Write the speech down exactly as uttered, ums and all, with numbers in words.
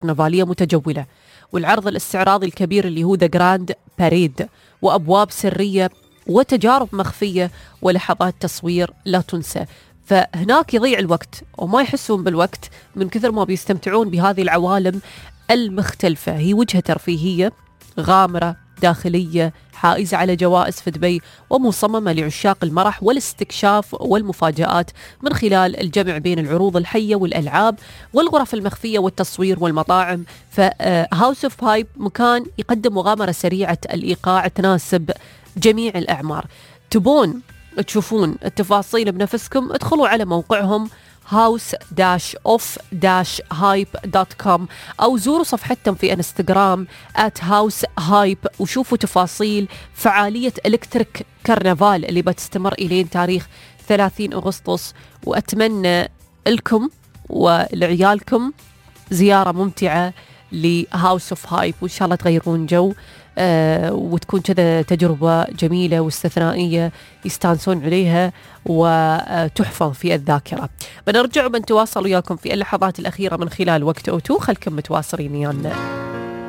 كرنفالية متجولة، والعرض الاستعراضي الكبير اللي هو ذا جراند باريد، وأبواب سرية وتجارب مخفية ولحظات تصوير لا تنسى. فهناك يضيع الوقت وما يحسون بالوقت من كثر ما بيستمتعون بهذه العوالم المختلفة. هي وجهة ترفيهية غامرة داخلية حائزة على جوائز في دبي، ومصممة لعشاق المرح والاستكشاف والمفاجآت من خلال الجمع بين العروض الحية والألعاب والغرف المخفية والتصوير والمطاعم. فهاوس اوف هايب مكان يقدم مغامرة سريعة الإيقاع تناسب جميع الأعمار. تبون تشوفون التفاصيل بنفسكم؟ ادخلوا على موقعهم هاوس اوف هايب دوت كوم أو زوروا صفحتهم في انستغرام آت هاوس هايب وشوفوا تفاصيل فعالية إلكتريك كرنفال اللي بتستمر إلين تاريخ ثلاثين أغسطس. وأتمنى لكم ولعيالكم زيارة ممتعة لهاوس اوف هايب، وإن شاء الله تغيرون جو آه وتكون كذا تجربة جميلة واستثنائية يستانسون عليها وتحفظ في الذاكرة. بنرجع وبنتواصل وياكم في اللحظات الأخيرة من خلال وقت أوتو. خلكم متواصلين يانا.